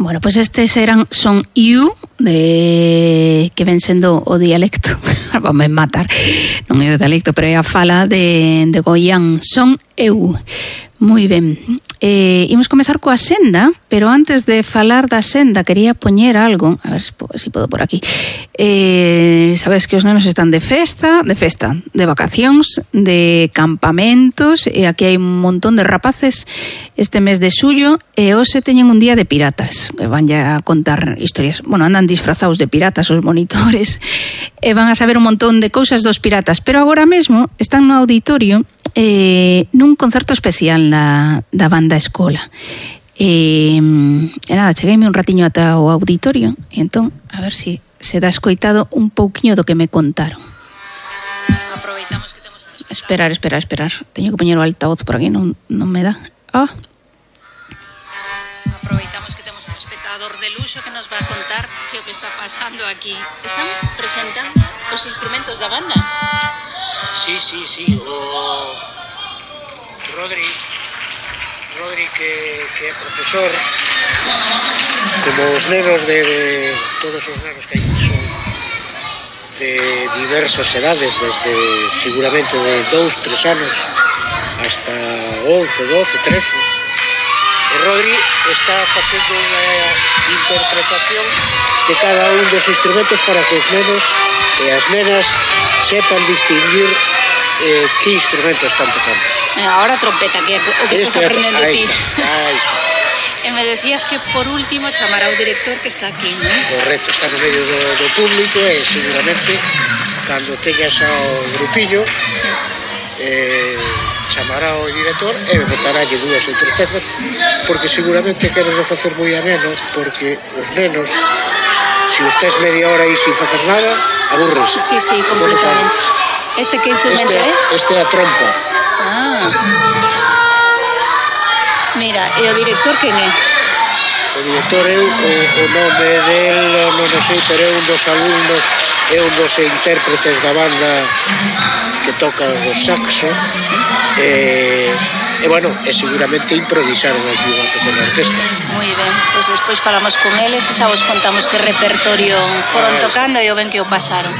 Bueno, pois estes son You, que ven sendo o dialecto, vamos matar, non é o dialecto, pero é a fala de Goián, son eu. Moi ben, imos comezar coa senda, pero antes de falar da senda quería poñer algo, a ver se podo por aquí. Sabes que os nenos están de festa, de vacacións, de campamentos, e aquí hai un montón de rapaces este mes de xullo, e hoxe teñen un día de piratas, van ya a contar historias, bueno, andan disfrazados de piratas os monitores, e van a saber un montón de cousas dos piratas, pero agora mesmo están no auditorio nun concerto especial da banda Escola. E nada, chegueime un ratiño ata o auditorio, e entón, a ver se dá escoitado un pouquiño do que me contaron. Aproveitamos que temos... Esperar. Teño que poñer o altavoz por aquí, non me dá. Aproveitamos que temos un espectador de luxo que nos va a contar que o que está pasando aquí. Están presentando os instrumentos da banda. Sí, o Rodri que é profesor, como os nenos de todos os nenos que hai son de diversas edades, desde seguramente de 2-3 anos hasta 11, 12, 13, e Rodri está facendo unha interpretación de cada un dos instrumentos para que os nenos e as nenas sepan distinguir que instrumentos están tocando. Ahora trompeta, que é o que estás aprendendo ti. Aí está. E me decías que por último chamar ao director que está aquí, non? Correcto, está no medio do público e seguramente cando teñas ao grupillo sí. Chamará ao director e botarálle 2 ou 3 pezas, porque seguramente queren facer moi ameno, porque os nenos, se os tes media hora aí sin facer nada, aburres. Sí, completamente. Este que instrumento é? Este é a trompa. Mira, e o director quen é? O director é o nome del, non sei, pero é un dos alumnos, é un dos intérpretes da banda que toca o saxo. Sí. E bueno, seguramente improvisaron aquí unha pequena orquesta. Moi ben, pois despois falamos con eles e xa vos contamos que repertorio foron tocando e o ben que o pasaron.